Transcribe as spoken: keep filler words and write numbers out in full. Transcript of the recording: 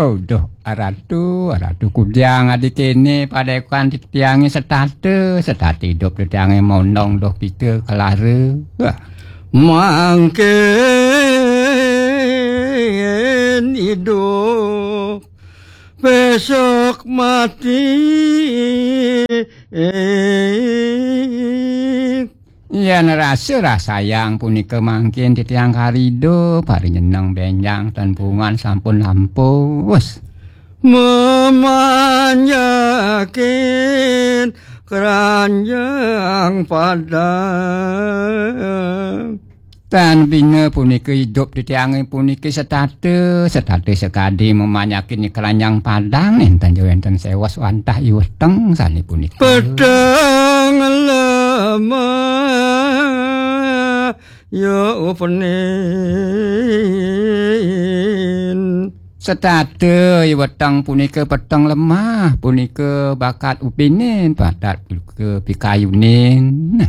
Oh, duh, Ratu, Ratu kujang adi kéné padekan titiangé setata, setata idup titiangé monong duh pita kelara. Wah. Mangkin idup, besok mati. Yén rasa rasayang punika mangkin titiang kari idup, kari nyeneng bénjang ten pungan sampun lampus. Memanjakin keranjang Padang. Tan bina punika idup titiangé puniki setata, setata sekadi memanjakin keranjang Padang, nénten ja wénten séwos wantah iweteng sané punika. Peteng lemah ya upenin. Setata iweteng punika peteng lemah, punika bakat upinin, bakat punika pikayunin. Nah.